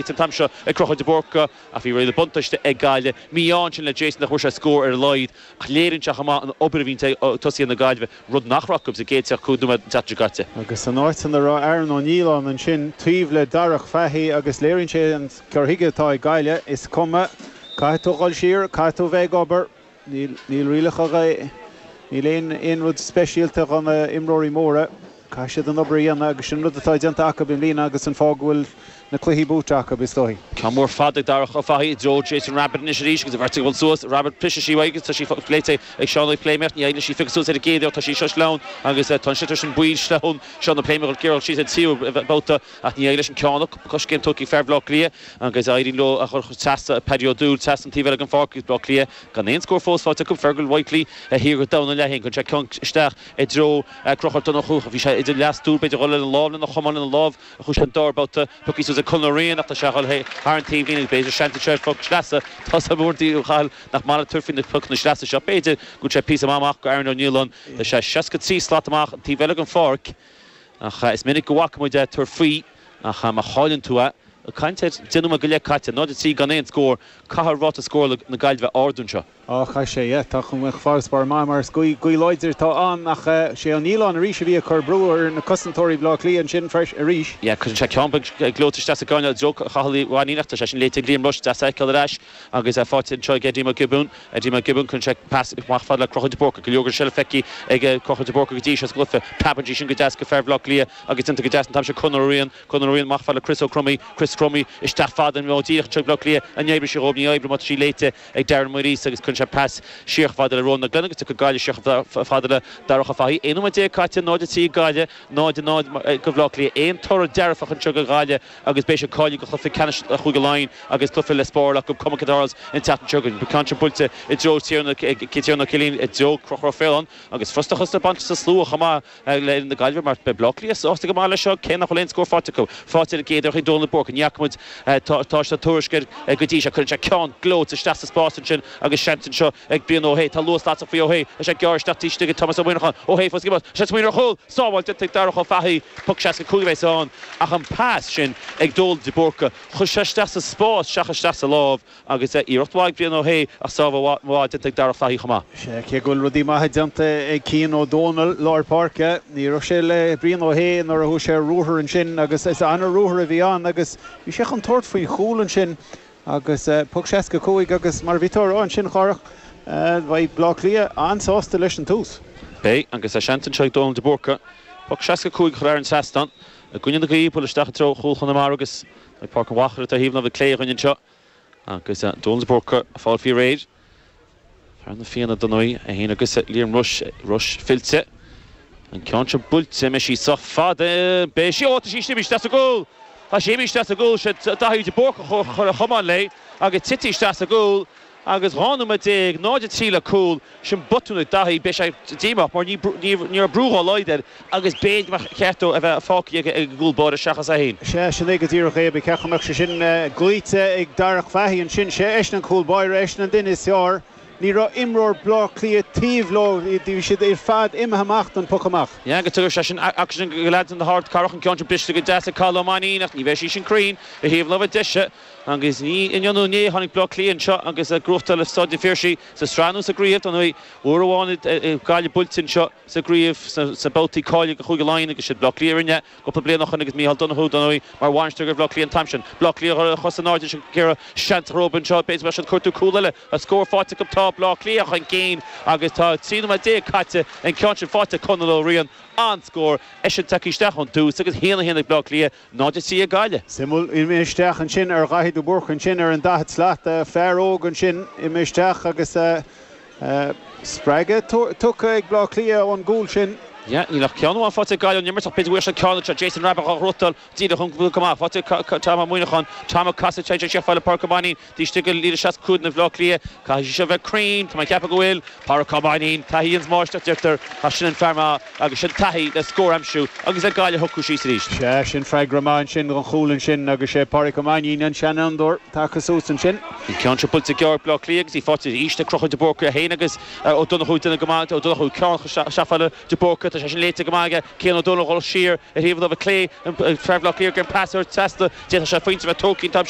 An t-am seo ag Conchúr de Búrca ach bhí riail buntáiste ag Gaillimh. Mí-ádh ansin le Jason nach bhfuair sé scór ar a laghad ach léiríonn sé chomh maith an obair a bhíonn ag tosaithe na Gaillimhe, rud nach raibh acu sa gcéad 35 nóiméad an tseachtain seo caite. Agus san áit ina raibh Aaron Ó Nialláin ansin taobh le Darach Fahy agus léiríonn sé an cur chuige atá ag Gaillimh, is cuma, caithfidh tú dhul siar, caithfidh tú a bheith ag obair. Níl rialacha, níl aon aon rud speisialta do na imreoirí móra. Caithfidh siad an obair a dhéanamh agus sin an rud atá déanta acu i mbliana agus an fáth go bhfuil na cluichí buaite acu, is dóigh. Ceann mór fada ag Darach Ó Fathaigh i dtreo Jason Rabbitte anois arís agus an bheirt ag dul suas. Rabbitte briseadh sí uaidh agus tá sí léite ag Seán Ó Pléimeach. Ní éiríonn leis í a phiocadh suas ar an gcéad iarracht. Tá sí seo sleamhain agus tá an sliotar sin baill sleamhain. Seán Ó Pléimeach ag iarraidh síos ar tríú babhta ach ní éiríonn leis an ceann coiscéim tógtha ag fear Bhaile Átha Cliath agus éiríonn leo a chur trasna Paddy O'Doul trasna an taobh eile den pháirc agus Baile Átha Cliath Gan aon scór fós faighte acu, Fergal Whitely thiar go domhan an leath-fhéin. Cuireann sé ceann isteach i dtreo Conchúr Ó Donnchú. Bhí sé idir leath-stúr, b'fhéidir dhul lena lámh, lena chamán, lena lámh a chuaigh sé an dara babhta. Pioctha suas ag Conor Ó Riain ach tá sé a dhul thar an taobhlíne agus b'fhéidir seans anseo ar phoc sleasa. Tá a fhios agam uaireanta, a Chathail, nach maith leat tabhairt faoi na pocanna sleasa seo. B'fhéidir go bhfuil sé píosa maith amach go Aaron Ó Nialláin. Tá sé 63 slat amach an taobh eile den pháirc ach is minic go bhfaca muid é tabhairt faoi ach má chailleann tú é, Ag caint ar 10 nóiméad go leith caite, 0-3 gan aon scór, caithfidh ráta scórála na Gaillimhe ardú anseo. Á, chaith sé, yeah. Tá chun farasbarr maith mar is gaoth láidir atá ann ach sé Ó Nialláin arís a bhí ag cur brú ar na cosantóirí Bhaile Átha Cliath ansin freisin arís. Yeah, cuireann sé ceann beag gleoite isteach sa gcoirnéal i dtreo Chathail Uí Mhainnín ach tá sé sin léite ag Liam Rushe, deas a fheiceáil ar ais agus é faighte anseo ag Eddie McGibbon. Eddie McGibbon, cuireann sé pas amach fad le Conchúr de Búrca. Go leor den seilbh feicthe ag Conchúr de Búrca go dtí seo sa gcluiche. Preabann sí sin go deas go fear Bhaile Átha Cliath agus déanta go deas an t-am seo Conor Ó Riain. Conor Ó Riain amach fad le Chris Ó Cromaí, Chris Crummey, isteach fada nó díreach anseo ag Bleá Cliath. An oibreoidh sí dhóibh? Ní oibreoidh mar tá sí léite ag Darren Muiríosa agus cuireann sé pas siar chomh fada le Ronan Glenn agus tiocfaidh Gaillimh siar chomh fada le Darach Ó Fathaigh. 11 nóiméad caite, 0-3 ag Gaillimh, 0-0 go Bhleá Cliath. Aon toradh dearfach anseo go Ghaillimh agus beidh siad cáilithe go chluiche ceannais Chúige Laighean agus cluiche le spáráil acu, cuma cad a tharlós an tseachtain seo chugainn. Ceann sin buailte i dtreo Tiarna Ó Cillín, i dtreo Conchúr Ó Faoláin agus frustrachas ag baint sa slua chomh maith. le na Gaillimhe mar beidh Bleá Cliath sásta go maith leis seo cé nach bhfuil aon scór faighte acu. Faighte ar an gcéad iarracht ag Dónal de Búrca. Ní fhaca muid tá sé tuairisc air go dtí seo. Cuireann sé ceann gleoite isteach sa spás ansin agus seans anseo ag Brian Ó hAodha. Tá luas lasrach faoi Ó hAodha. Tá sé gearr isteach taobh istigh ag Tomás Ó Muineacháin. Ó hAodha fós ag imirt. Tá sé ag smaoineamh ar chúl! Sábháil déanta ag Darach Ó Fathaigh. Poc 65 a bheas ann ach an pas sin ag Dónal de Búrca chuir sé isteach sa spás seachas isteach sa lámh. Agus iarracht mhaith ag Brian Ó hAodha ach sábháil mhaith déanta ag Darach Fahy chomh maith. Sea, cé go bhfuil rudaí maithe déanta ag Cian Ó Dónaill, lár páirce, ní raibh sé le Brian Ó hAodha nuair a chuaigh sé ar ruathar ansin agus is ana-ruathar a bhí ann agus bhí sé chun tabhairt faoin chúl ansin agus poc 65 agus mar a bhí tú a rá ansin, a Chárthach, beidh Bleá Cliath an-sásta leis an tús. Beidh, agus tá seans anseo ag Dónal de Búrca poc 65 a chur thar an trasnán i gcoinne na gaoithe, bualadh isteach i dtreo chúl Chonamara agus Ag Páirc an Mhachaire atá thaobh láimhe clé againn anseo agus Dónal de Búrca ag fáil faoi réir. Fear na Fianna dar ndóigh, é féin agus Liam Rushe, Rushe fillte. An ceann seo buailte, an mbeidh sí sách fada? Beidh sí, ó tá sí imithe isteach sa gcúl! Tá sí imithe isteach sa gcúl, sé Daithí de Búrca a chuir a chamán léi agus titfidh isteach sa gcúl. Agus 12 nóiméad, 0-3 le cúl, sin botún ag Daithí, beidh sé díomách mar ní raibh brú dhá laghad air agus b'fhéidir go mbeadh ceart dó a bheith fágtha ag an gcúl báire seachas é féin. Sea, sin é go díreach é. Ba cheart go mbeadh sé sin glaoite ag Darach Fahy ansin. Sé eisean an cúl báire, eisean an duine is fearr. Ní raibh imreoir Bhleá Cliath taobh leo, bhí siad ar fad imithe amach don phoc amach. Yeah, agus tugadh sé sin aicsean go leaids na hArdcathrach, an ceann sin briste go deas ag Cathal Ó Mainnín ach ní bheidh sí sin cruinn ar thaobh láimhe deise. Agus ní inniu nó inné a tháinig Bleá Cliath anseo agus ag gnóthachtáil i Staid an Phiarsaigh sa tsraith nó sa gcraobh. Dar ndóigh, uair amháin Gaillimh buailte anseo sa gcraobh sna babhtaí cáilithe do Chúige Laighean agus siad Bleá Cliath a rinne é cúpla bliain ó shoin agus Micheál Donoghue, dar ndóigh, mar bhainisteoir ar Bhleá Cliath an t-am sin. Bleá Cliath a chos in airde ansin ag iarraidh seans a chur anseo. B'fhéidir go mbeadh siad ag cuartú cúl eile. Tá scór faighte acu. Tá Bleá Cliath chun cinn agus tá 13 nóiméad caite. An ceann sin faighte ag Conall Ó Riain. An-scór. Eisean tagtha isteach ón tús agus 1-1 ag Bleá Cliath. 0-3 ag Gaillimh. Suimiúil, imithe isteach ansin ar Dhaithí de Búrca ansin ar an 40 slat, fear óg ansin imithe isteach agus spreagadh tugtha ag Bleá Cliath ón gcúl sin. Yeah, níl ach ceann amháin faighte ag Gaillimh ón imirt ach b'fhéidir go bhfuil siad ceann anseo. Jason Rabbitte á ghnóthachtáil díreach an go maith. Faighte ag Tom Ó Muineacháin. Tom ag casadh téann sé siar fad le Pádraic Ó Mainnín. Taobh istigh de líne 65 na Bhleá Cliath. Caithfidh sí seo bheith cruinn. Tá mé ag ceapadh go bhfuil. Pádraic Ó Mainnín, taithí an mháisteacht deirtear, ach sin an fear maith agus sin taithí le scór a aimsiú agus le Gaillimh a shocrú síos arís. Sea, sin freagra maith ansin don chúl ansin agus sé Pádraic Ó Mainnín an seanfhondúir tagtha suas ansin. An ceann seo buailte gearr ag Bleá Cliath agus í faighte arís ag Conchúr de Búrca é féin agus Ó Donnchú ag déanamh go maith. Ó Donnchú ceann isteach fad le de Búrca. Tá sé sin léite go maith aige Cian Ó Dónaill ag dul siar ar thaobh na láimhe clé, fear Bhaile Átha Cliath ag iarraidh an pas a thabhairt trasna. D'fhéadfadh sé pointe a bheith tógtha an t-am seo.